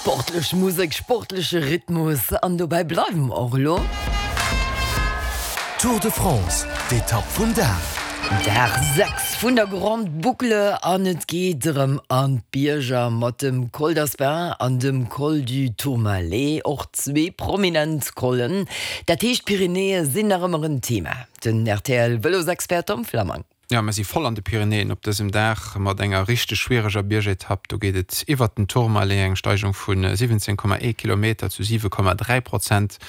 Sportlech Musek, sportleche Rhythmus an dobäi bleiwe mer och elo. Tour de France, d'Etapp vum Dag. Dag 6 vun der Grande Boucle an et geet erëm an d'Bierger mat dem Col d'Aspin an dem Col du Tourmalet, och zwee prominent Collen. Dat heescht d'Pyrenäe sinn nach ëmmer en Thema. Den RTL-Vëlosexpert Tom Flammang. Jo, mir si voll an de Pyrenäen op dësem Dag mat enger richteg schwiereger Biergetapp. Do geet et iwwert den Tourmalet, eng Steigung vu 17,1 Kilometer zu 7,3 Prozent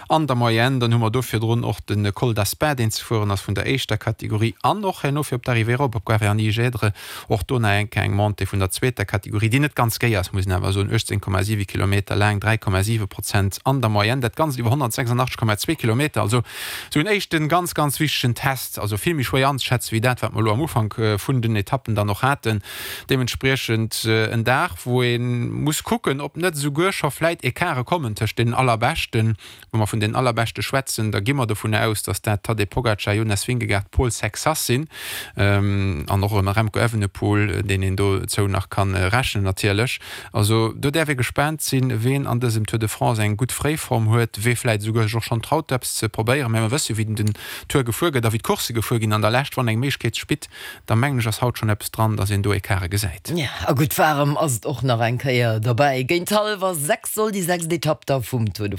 an der Moyenne. Dann hu mer do virdrun och de Col d'Aspin, deen ze fueren ass vun der éischter Kategorie an och herno fir op d'Arrivée erop op Gavarnie-Gèdre och do nach eng Kéier eng Montée vun der zweeter Kategorie, déi net ganz géi ass, muss een awer soen, 18,7 Kilometer laang, 3,7 Prozent an der Moyenne, dat Ganzt iwwer 186,2 Kilometer. Also esou en éischten ganz, ganz wichtegen Test, also vill méi schwéier anzeschätzen, wéi dat, wat mer elo am Ufank vun den Etappen dann och haten. Deementspriechend en Dag, wou ee muss kucken, ob net esouguer scho vläit Ecarte kommen tëscht deenen Allerbeschten. Wa mer vun den Allerbeschte schwätzen, da gi mer dovun aus, datt dat Tadej Pogacar, Jonas Vingegaard, Paul Sexas sinn an och erëm Remco Evenepoel, deen een dozou nach ka rechnen natierlech. Also do däerf ee gespaant sinn, ween an dësem Tour de France eng gutt Fréiform huet, wee vläit esouguer sech och schonn traut eppes ze probéieren. Mä mer wësse jo wéi den Tour gefuer gëtt a wéi d'Coursse gefuer ginn an der Lescht. Wann eng Méiglechkeet sech bitt, da mengen ech ass haut schonn eppes dran, datt een do Ecarte gesäit. Jo, a gutt waarem ass et och nach eng Kéier derbäi. Géint hallwer 6 soll déi sechst Etapp da vum Tour de.